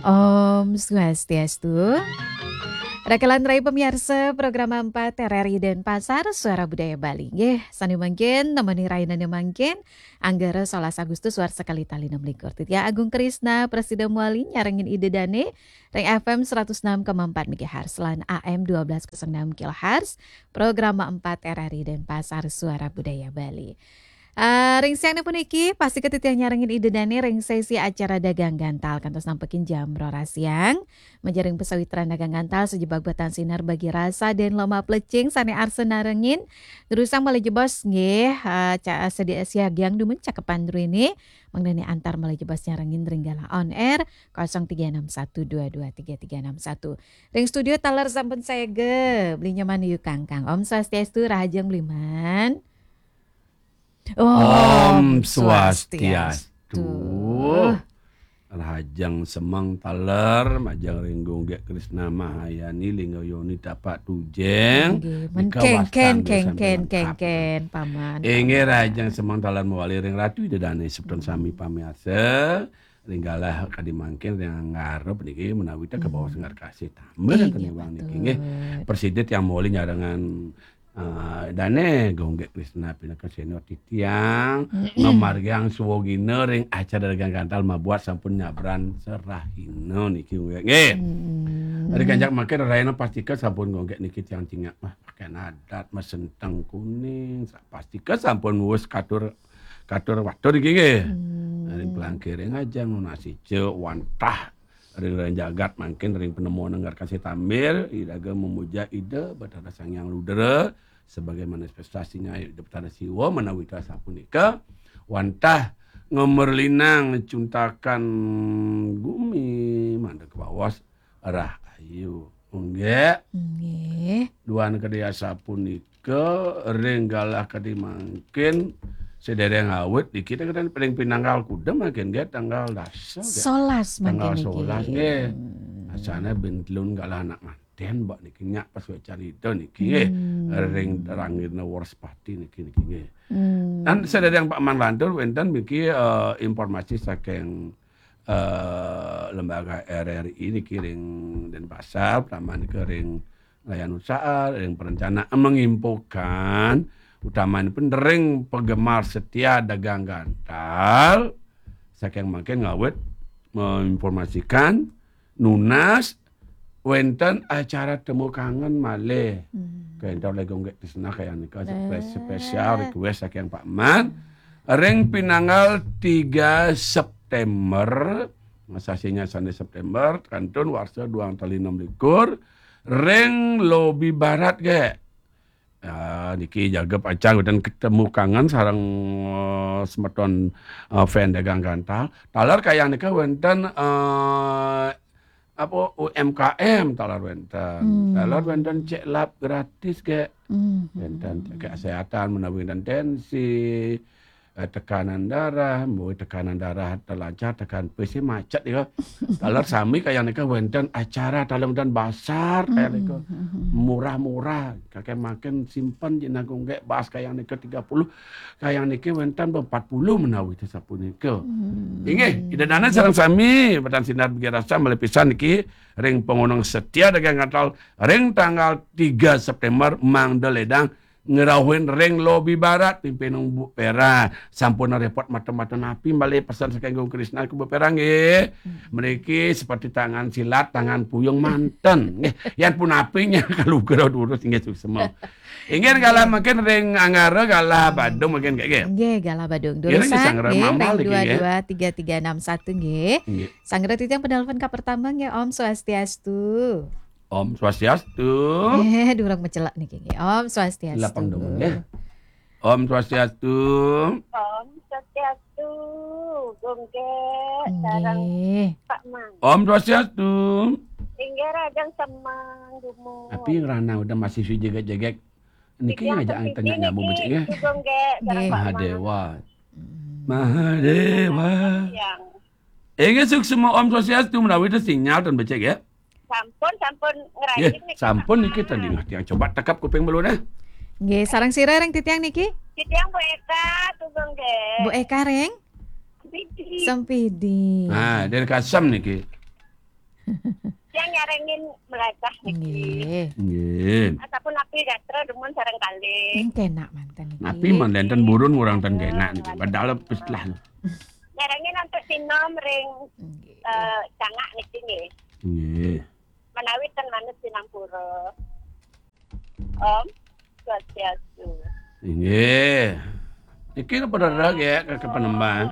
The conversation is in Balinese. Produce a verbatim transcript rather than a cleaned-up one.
Om Swastiastu. Rakalan rai pamiarsa program empat R R I Denpasar, Suara Budaya Bali. Nggih, sané mangkin nemoni rahinane mangkin, Anggara solas Agustus warsa kalih tali enam likur. Titiang Agung Krisna, prasida mawali nyarengin Ida Dané ring F M seratus enam koma empat megahertz lan A M dua belas kosong enam kilohertz, program empat R R I Denpasar, Suara Budaya Bali. Ah, ring siang puniki, pastika titiang nyarengin Ida Dané ring sesi acara Dagang Gantal kantos nampekin jam roras siang. Majaring pasawitran Dagang Gantal sajebag batan sinar bagi rasa dan loma plecing sané arsa narengin. Durusang malih jebos nggih, ah, ca-, sedi-, siagiang dumun cakepan druéné, mangdané antar malih jebos nyarengin ring galah on air kosong tiga enam satu dua dua tiga tiga enam satu. Ring studio taler sampun saéga, Beli Nyoman Yu Kangkang. Om Swastiastu, rahajeng Beli Man. Om Swastiastu. Rahajeng semeng taler, majeng ring Gung Gék Krisna Mahayani, Lingga Yoni Tapak Tujeng. Nggih, men nika kéngkén, wastan desa kéngkén, Melengkap. Kéngkén, Paman, Inggih, Paman. Rahajeng semeng taler mawali ring Ratu Ida Dané semeton sami pamiarsa. Ring galah kadi mangkin ring Anggara puniki menawi ta kabaos ngarkasih tambah ten iwang niki nggih. Prasida tiang mawali nyarengin, eh, Dané Gung Gék Krisna pinaka senior titiang, ngamargiang swagina ring acara Dagang Gantal mabuat sampun nyabran serahina niki nggih. Nggih. Ring ganjak mangkin rahina pastika sampun Gung Gék niki tiang cingak mah pakaian adat masenteng kuning, sa-, pastika sampun wus katur katur watur niki nggih. Ring pelangkiring ajeng nunas ica wantah ring, ring jagat mangkin ring panemon ngarkasih tambah, iraga memuja Ida Batara Sang Hyang Rudra sebagai manifestasinya Ida Batara Siwa menawi ta sapunika wantah ngemerlinang cuntakan gumi mangda kabaos rahayu. Nggih. Nggih. Duan kadi asapunika ring galah kadi mangkin sedereng awit dikit kita ring pinanggal kuda mangkin nggih tanggal dasa nggih. Solas mangkin niki. Tanggal solas nggih. Asana bintlun galah anak manten mbak niki nyak pas carita niki nggih. Ring Rangirna Wraspati niki niki nggih. Dan sedereng Pak Manlantur wénten niki, eh, informasi saking eh, lembaga R R I niki ring Denpasar, utama niki ring Layan Usaha, ring perencana menginfokan, utama niki ring penggemar setia Dagang Gantal, saking mangkin ngawit menginformasikan nunas wénten acara temu kangen malih. Kenten oleh Gung Gék Krisna kaya nika spesial request saking Pak Man. Ring pinanggal tiga September, sasih sane September, kantun warsa duang tali enam likur, ring lobi barat Gék. Ya, niki jaga pacang dan ketemu kangen sareng, eh, semeton, eh, fan Dagang Gantal. Taler kayang nika wénten, eh, apa, U M K M taler wénten. Taler wénten check lab gratis Gék. Wénten kesehatan menawi wénten tensi, eh, tekanan darah, mboh tekanan darah telancar, tekan pesi macet ya. Taler sami kayang nika wénten acara taler wénten basar kayang nika. Murah-murah, kakek makin simpen jenang Gung Gék bas kayang nika tiga puluh, kayang niki wénten empat puluh menawi sapunika. Inggih, Ida Dané sareng sami, batan sinar bagi rasa malih pisan niki ring pangoneng setia Dagang Gantal ring tanggal tiga September mangda ledang ngrauhin ring lobi barat, pimpin Bu Pera. Sampun repot mata-mata napi malih pesan saking Gung Krisna ke Bu Pera nggih. Mriki seperti tangan silat, tangan puyung manten. Nggih, yan punapi nya kalugra durus nggih suksma. Inggih galah mangkin ring Anggara galah Badung mangkin nggih. Nggih, galah Badung. Durus nggih, Sanggra nggih, Mambal ring niki nggih. Dua dua tiga tiga enam satu nggih. Nggih. Sanggra titiang penelpon ka pertama nggih, Om Swastiastu. Om Swastiastu. Eh, durung mecelek niki nggih. Om Swastiastu. Lapang dong nggih. Om Swastiastu. Om Swastiastu, Gung Gék, sareng Pak Man. Om Swastiastu. Inggih, rahajeng semeng dumun. Tapi ngrana udah masih si jegek-jegek. Niki ngajak tanya nyambung becik nggih. Gung Gék, sareng Pak Man. Mahadewa. Mahadewa. Inggih suksma Om Swastiastu menawi ten sinyal ten becik ya. Sampun, sampun ngrajin niki, sampun niki tadi ngerti yang coba tekap kuping belum eh. Nggih, sareng sira ring titiang niki? Titiang Bu Eka, Gung Gék. Bu Eka ring? Sempidi. Sempidi. Nah, dari Kasem niki. Yang nyarengin melajah niki. Nggih. Nggih. Ataupun napi gatra dumun sareng kalih. Ning kenak manten niki. Napi mangke ten burun ngurang ten kenak niki. Padahal pis lah. Nyarengin antuk sinom ring Nggih. eh, cangak niki nggih. Nggih. Menawi ten manut sinampura. Om Swastiastu. Nggih. Niki napa rereh nggih ke, ke Penemban?